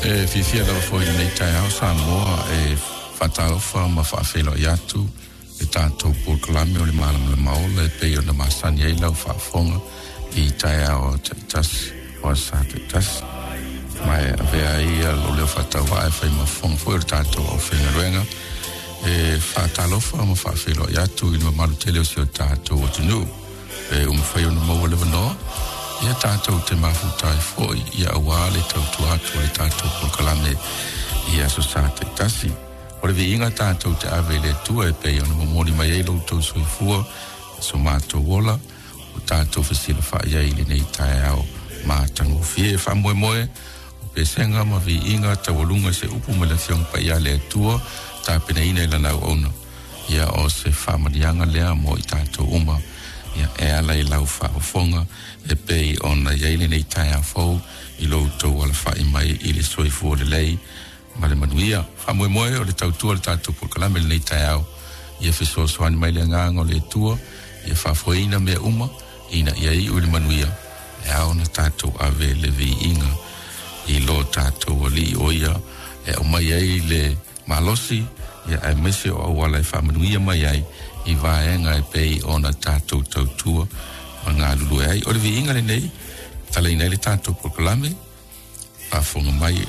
E fiafia lava foi i lenei taeao Samoa e faatalofa ma faafeiloai atu le tatou polokalame o le Malamalama Ola e pei ona masani ai lau faafofoga i taeao taitasi o aso Sa taitasi. Ma e avea ai lou leo faatauvaa e fai ma fofoga foi o le tatou aufaigaluega e faatalofa ma faafeiloai atu i le mamalu tele o si o tatou atunuu. Pe ua mafai ona maua le avanoa, ia tatou te mafuta ai foi ia aua le tautua atu a le tatou polokalame i aso Sa taitasi. O le viiga tatou te ave i le Atua e pei ona momoli mai ai lo outou soifua, so matou ola, ua tatou fesilafai ai i lenei taeao matagofie. Faamoemoe o pesega ma viiga taualuga i se upu mai le Afioga Paia a le Atua, tapenaina i Lana auauna. Ia o se faamaliaga lea mo i tatou uma, ia e ala i lau faafofoga e pei ona i ai lenei taeao fou i lo outou alafai mai i le soifua lelei ma le manuia. Faamoemoe o le tautua o le tatou polokalame i lenei taeao, ia fesoasoani mai le Agaga o le Atua, ia faafoeina mea uma ina ia iu i le manuia, e ao ona tatou ave le viiga i lo tatou Alii o ia e aumai ai le malosi, ia aemaise o auala e faamanuia mai ai i vaega e pei ona tatou tautua ma galulue ai. O le viiga lenei, talaina ai le tatou polokalame, faafofoga mai.